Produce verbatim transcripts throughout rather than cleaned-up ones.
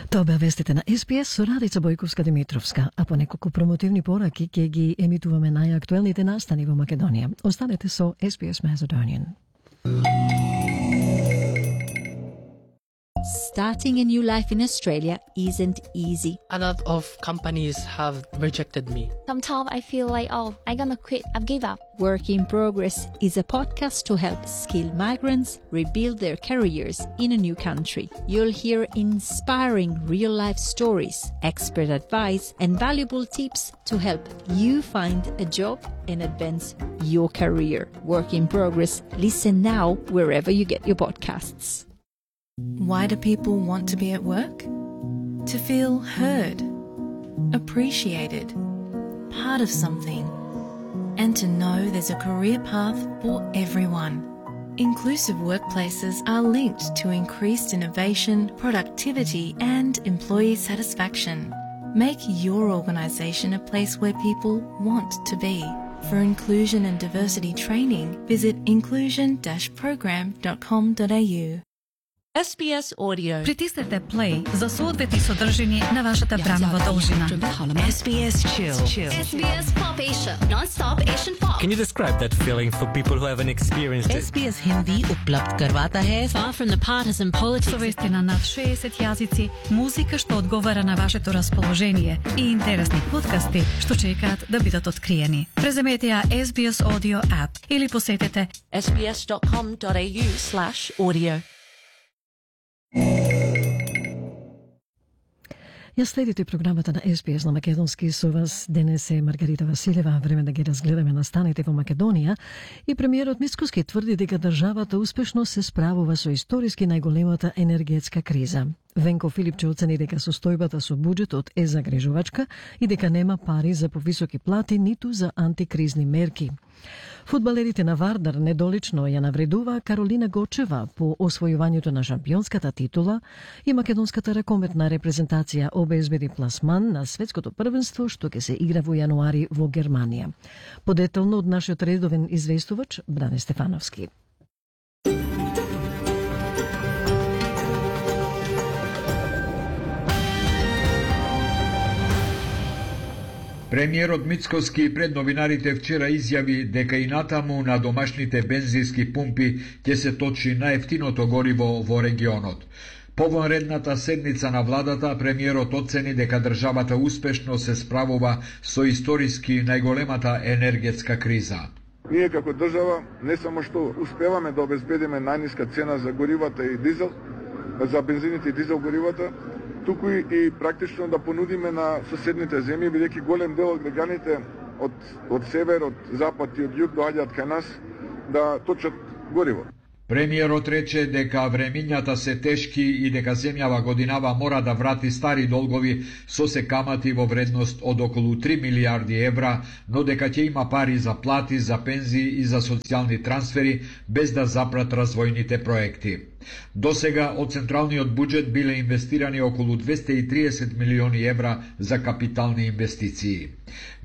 Тоа беа вестите на Ес Би Ес со Радица Бојковска-Димитровска, а по неколку промотивни пораки ќе ги емитуваме најактуелните настани во Македонија. Останете со Ес Би Ес Macedonian. Starting a new life in Australia isn't easy. A lot of companies have rejected me. Sometimes I feel like, oh, I'm gonna quit, I've give up. Work in Progress is a podcast to help skilled migrants rebuild their careers in a new country. You'll hear inspiring real-life stories, expert advice, and valuable tips to help you find a job and advance your career. Work in Progress. Listen now wherever you get your podcasts. Why do people want to be at work? To feel heard, appreciated, part of something, and to know there's a career path for everyone. Inclusive workplaces are linked to increased innovation, productivity, and employee satisfaction. Make your organisation a place where people want to be. For inclusion and diversity training, visit inclusion dash program dot com dot a u. Ес Би Ес Audio. Притиснете play за соодветни содржини на вашата бранова должина. Ес Би Ес Chill. Ес Би Ес Pop Asia, non-stop Asian pop. Can you describe that feeling for people who haven't experienced it? Ес Би Ес Hindi उपलब्ध करवाता है far from the partisan politics. Со вести на над шеесет јазици, музика што одговара на вашето расположение и интересни подкасти што чекаат да бидат откриени. Преземете ја Ес Би Ес Audio app или посетете ес би ес dot com dot a u slash audio. Ја следите програмата на Ес Би Ес на македонски со вас. Денес е Маргарита Василева. Време да ги разгледаме настаните во Македонија. И премиерот Мицкоски тврди дека државата успешно се справува со историски најголемата енергетска криза. Венко Филипче оцени дека состојбата со буџетот е загрижувачка и дека нема пари за повисоки плати ниту за антикризни мерки. Фудбалерите на Вардар недолично ја навредува Каролина Гочева по освојувањето на шампионската титула и македонската ракометна репрезентација обезбеди пласман на светското првенство што ќе се игра во јануари во Германија. Подетално од нашиот редовен известувач Бране Стефановски. Премиерот Мицкоски пред новинарите вчера изјави дека и натаму на домашните бензински пумпи ќе се точи најефтиното гориво во регионот. По вонредната седница на владата, премиерот оцени дека државата успешно се справува со историски најголемата енергетска криза. Ние како држава не само што успеваме да обезбедиме најниска цена за горивата и дизел, за бензините и дизел горивата, туку и практично да понудиме на соседните земји, бидејќи голем дел од граѓаните од, од север, од запад и од југ доаѓаат кај нас да точат гориво. Премиерот рече дека времињата се тешки и дека земјава годинава мора да врати стари долгови со се камати во вредност од околу три милијарди евра, но дека ќе има пари за плати, за пензии и за социјални трансфери, без да запрат развојните проекти. Досега од централниот буџет биле инвестирани околу двесте и триесет милиони евра за капитални инвестиции.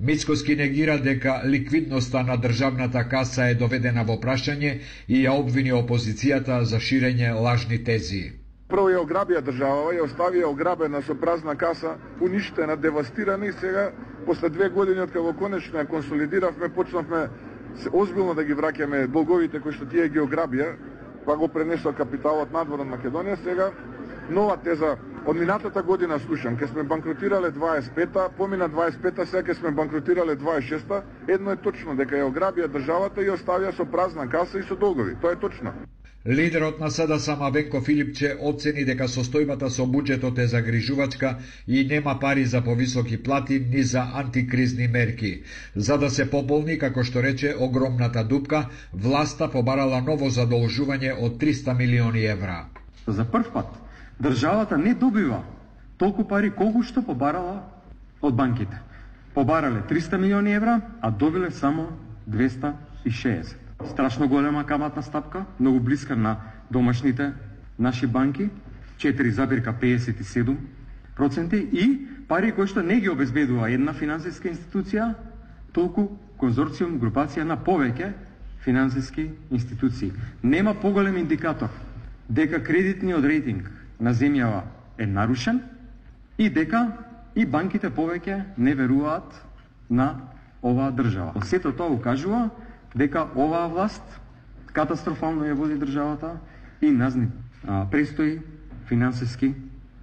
Мицкоски негира дека ликвидноста на државната каса е доведена во прашање и ја обвини опозицијата за ширење лажни тези. Прво ја ограбија државава, ја оставија ограбена со празна каса, уништена, девастирана и сега, после две години од кога конечно ја консолидиравме, почнавме озбилно да ги враќаме долговите кои што тие ги ограбија, па го пренесува капиталот надвор од Македонија. Сега нова теза од минатата година слушам, ке сме банкротирале дваесет и пета, помина дваесет и пета, сега ке сме банкротирале дваесет и шеста. Едно е точно, дека ја ограбија државата и оставија со празна каса и со долгови. Тоа е точно. Лидерот на СДСМ Венко Филипче оцени дека состојбата со буџетот е загрижувачка и нема пари за повисоки плати ни за антикризни мерки. За да се пополни, како што рече, огромната дупка, власта побарала ново задолжување од триста милиони евра. За прв пат државата не добива толку пари колку што побарала од банките. Побарале триста милиони евра, а добиле само двесте и шеесет. Страшно голема каматна стапка, многу блиска на домашните наши банки, четири запир педесет и седум проценти, и пари кои што не ги обезбедува една финансиска институција, толку конзорциум, групација на повеќе финансиски институции. Нема поголем индикатор дека кредитниот рейтинг на земјава е нарушен и дека и банките повеќе не веруваат на оваа држава. Сето тоа укажува дека оваа власт катастрофално ја води државата и назни а, престои финансиски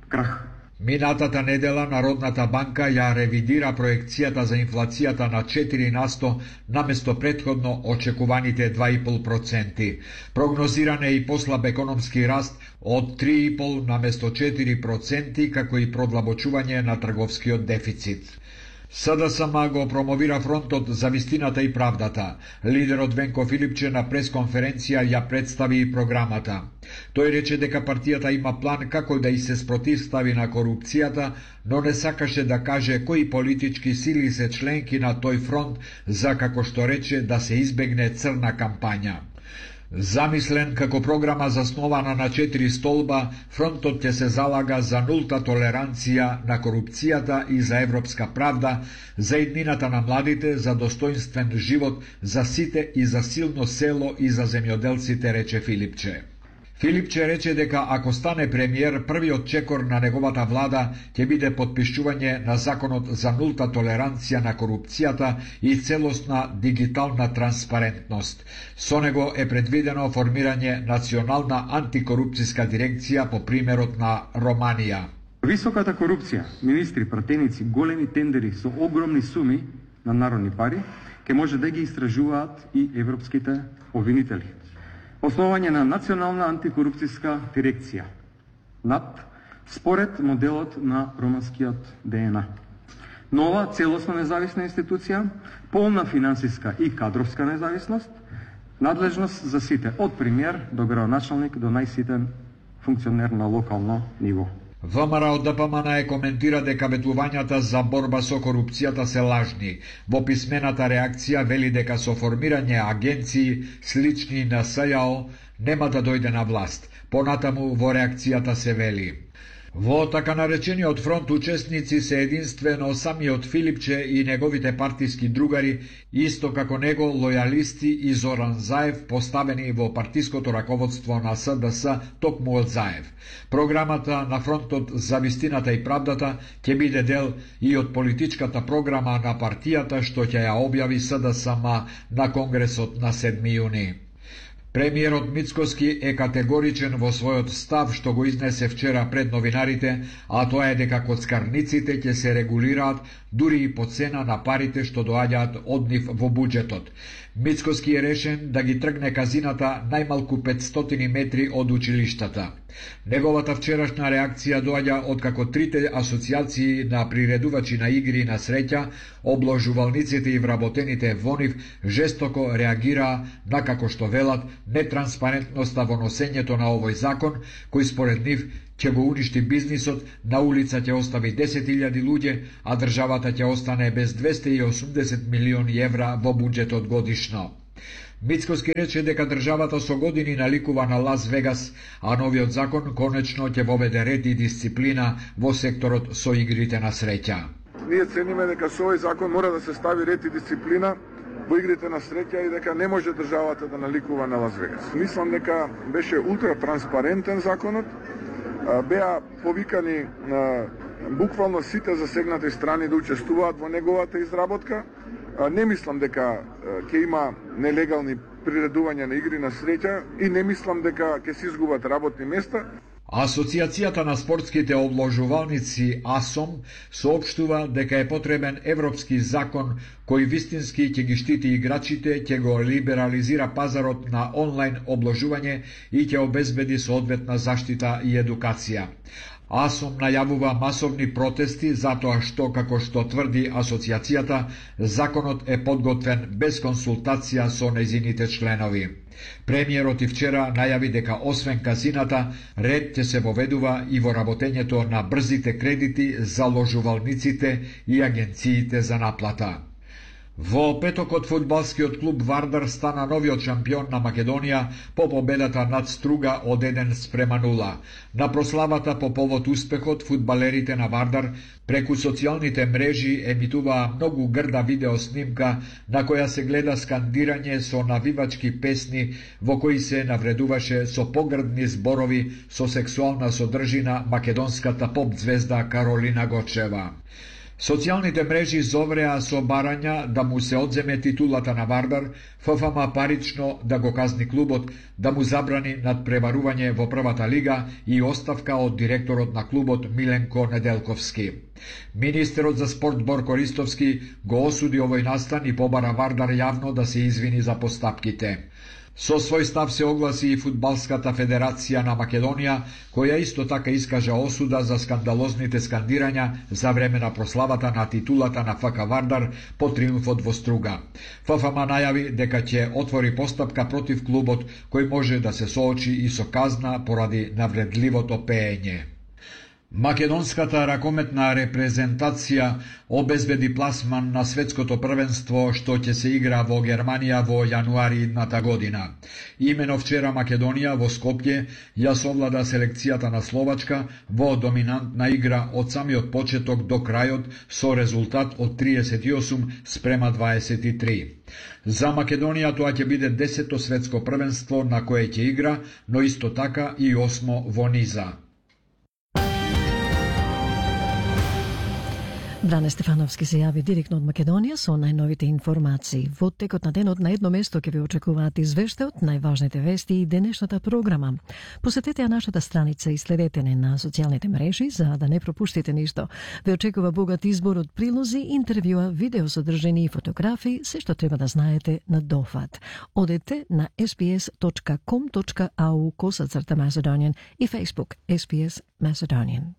крах. Минатата недела Народната банка ја ревидира проекцијата за инфлацијата на четири на сто наместо претходно очекуваните два и пол проценти. Прогнозиран е и послаб економски раст од три и пол наместо четири проценти, како и продлабочување на трговскиот дефицит. СДСМ го промовира фронтот за вистината и правдата. Лидерот Венко Филипче на пресконференција ја представи програмата. Тој рече дека партијата има план како да и се спротивстави на корупцијата, но не сакаше да каже кои политички сили се членки на тој фронт за, како што рече, да се избегне црна кампања. Замислен како програма заснована на четири столба, фронтот ќе се залага за нулта толеранција на корупцијата и за европска правда, за иднината на младите, за достоинствен живот, за сите и за силно село и за земјоделците, рече Филипче. Филипче рече дека ако стане премиер, првиот чекор на неговата влада ќе биде подпишување на законот за нулта толеранција на корупцијата и целосна дигитална транспарентност. Со него е предвидено формирање национална антикорупцијска дирекција по примерот на Романија. Високата корупција, министри, пратеници, големи тендери со огромни суми на народни пари, ќе може да ги истражуваат и европските обвинители. Основање на национална антикорупцијска дирекција НАД според моделот на романскиот ДНА. Нова целосно независна институција, полна финансиска и кадровска независност, надлежност за сите, од премиер до градоначалник до најситен функционер на локално ниво. ВМРО Д П М Н е коментира дека ветувањата за борба со корупцијата се лажни. Во писмената реакција вели дека со формирање агенции слични на С Ј О нема да дојде на власт. Понатаму во реакцијата се вели: во така наречениот фронт учесници се единствено самиот Филипче и неговите партиски другари, исто како него лојалисти и Зоран Заев, поставени во партиското раководство на С Д С токму од Заев. Програмата на фронтот за вистината и правдата ќе биде дел и од политичката програма на партијата што ќе ја објави С Д С М на Конгресот на седми јуни. Премиерот Мицкоски е категоричен во својот став што го изнесе вчера пред новинарите, а тоа е дека коцкарниците ќе се регулираат дури и по цена на парите што доаѓаат од нив во буџетот. Мицкоски е решен да ги тргне казината најмалку петстотини метри од училиштата. Неговата вчерашна реакција доаѓа од како трите асоцијации на приредувачи на игри на среќа, обложувалниците и вработените во нив жестоко реагираа на, како што велат, нетранспарентноста во носењето на овој закон, кој според нив ќе го уништи бизнисот, на улица ќе остави десет илјади луѓе, а државата ќе остане без двесте и осумдесет милиони евра во буџетот годишно. Мицкоски рече дека државата со години наликува на Лас Вегас, а новиот закон конечно ќе воведе ред и дисциплина во секторот со игрите на среќа. Ние цениме дека со овој закон мора да се стави ред и дисциплина во игрите на среќа и дека не може државата да наликува на Лас Вегас. Мислам дека беше ултра транспарентен законот, беа повикани буквално сите засегнати страни да учествуваат во неговата изработка. Не мислам дека ќе има нелегални приредувања на игри на среќа и не мислам дека ќе се изгубат работни места. Асоцијацијата на спортските обложувалници АСОМ соопштува дека е потребен европски закон кој вистински ќе ги штити играчите, ќе го либерализира пазарот на онлайн обложување и ќе обезбеди соодветна заштита и едукација. АСОМ најавува масовни протести затоа што, како што тврди асоцијацијата, законот е подготвен без консултација со нејзините членови. Премиерот и вчера најави дека освен казината, ред ќе се воведува и во работењето на брзите кредити за ложувалниците и агенциите за наплата. Во петокот фудбалскиот клуб Вардар стана новиот шампион на Македонија по победата над Струга од еден спрема нула. На прославата по повод успехот, фудбалерите на Вардар преку социјалните мрежи емитуваа многу грда видеоснимка на која се гледа скандирање со навивачки песни во кои се навредуваше со погрдни зборови со сексуална содржина македонската поп звезда Каролина Гочева. Социјалните мрежи зовреа со барања да му се одземе титулата на Вардар, ФФМ парично да го казни клубот, да му забрани надпреварување во првата лига и оставка од директорот на клубот Миленко Неделковски. Министерот за спорт Борко Ристовски го осуди овој настан и побара Вардар јавно да се извини за постапките. Со свој став се огласи и Фудбалската федерација на Македонија, која исто така искажа осуда за скандалозните скандирања за време на прославата на титулата на ФК Вардар по триумфот во Струга. ФФМ најави дека ќе отвори постапка против клубот, кој може да се соочи и со казна поради навредливото пеење. Македонската ракометна репрезентација обезбеди пласман на светското првенство што ќе се игра во Германија во јануари идната година. Имено вчера Македонија во Скопје ја совлада селекцијата на Словачка во доминантна игра од самиот почеток до крајот со резултат од триесет и осум спрема дваесет и три. За Македонија тоа ќе биде десето светско првенство на кое ќе игра, но исто така и осмо во низа. Бране Стефановски се јави директно од Македонија со најновите информации. Во текот на денот на едно место ќе ви очекуваат извештајот, најважните вести и денешната програма. Посетете ја нашата страница и следете не на социјалните мрежи за да не пропуштите ништо. Ве очекува богат избор од прилози, интервјуа, видеосодржини и фотографии, се што треба да знаете на дофат. Одете на ес би ес точка ком точка ау косацрта Macedonian и Facebook ес би ес Macedonian.